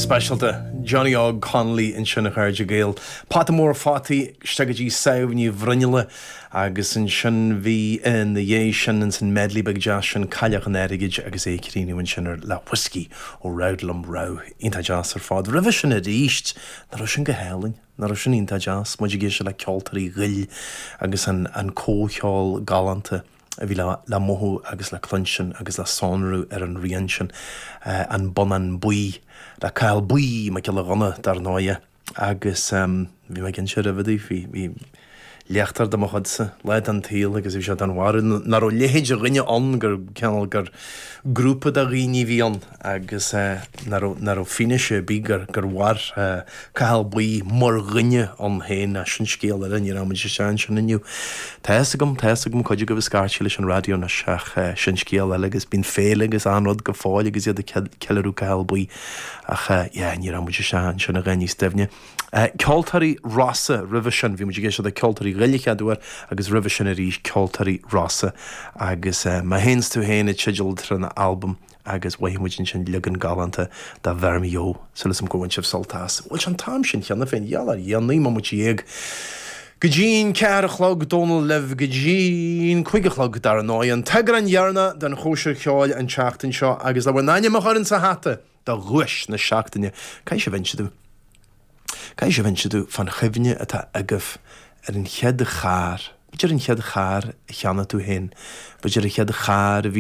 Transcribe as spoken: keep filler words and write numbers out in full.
Speisialta Johnny Óg Connolly ansin, a chairde Gael. Pota mór fataí isteach go dtí Sadhbh Ní Bhruinnealla agus ansin bhí ina dhiaidh sin ins an medley beag deas sin Cailleach an Airgid agus é críochnaithe ansin ar le Whiskey ó Roudlum Row iontach deas ar fad. Roimhe sin arís nach raibh sin go hálainn, nach raibh sin iontach deas, muid ag éisteacht le Ceoltóirí Ghoill agus an an comhcheol galánta a bhí le, le mothú agus le cluinstin agus le sonrú ar an rian sin uh, an Bonnán Buí le Cathal Buí Mac Giolla Ghunna dar ndóigh agus um, bhí mé cinnte roimhe bhí bhí léachtóir de mo chudsa lá den tsaol agus bhí sé den bharúil nach raibh leithéid de dhuine ann gur cineál gur grúpa de dhaoine bhí ann agus uh, nach raibh fianaise bí gur gur mhair uh, Cathal Buí mar dhuine ann féin a sin scéal eile ní raibh se sin inniu. Tá agam tá agam chuid go scairte leis an raidió na seach uh, sin scéal eile agus bíonn féile agus an rud go fóill agus iad ceiliúradh Cathal Buí ach uh, ní raibh sin sin a níos doimhne. Uh, Ceoltóirí Rossa roimhe sin bhí muid ag éisteacht le Ceoltóirí Ghoill chéad uair agus roimhe sin arís Ceoltóirí Rossa agus uh, Mé Féin 's Tú Féin an teideal ar an albam agus mhothaigh muid sin leagan galánta de Bheir Mé Súil agam go bhfuil sibh sult as. Bhfuil an t-am sin cheana féin gheall ar dhéanaí má dhéag. Go dtí'n ceathair a chlog Dónal libh go dtí'n cúig a chlog dar ndóigh an t-eagrán deireanach den chóisir cheoil an tseachtain seo agus le bhur n-ainm a chur sa hata do dhuais na seachtaine Cai se bhain tú. Cai se bhain tú fan chuimhne atá agaibh ar an chéad charr, B'fhéidir an chéad charr a cheannaigh tú féin, B'fhéidir an chéad charr a bhí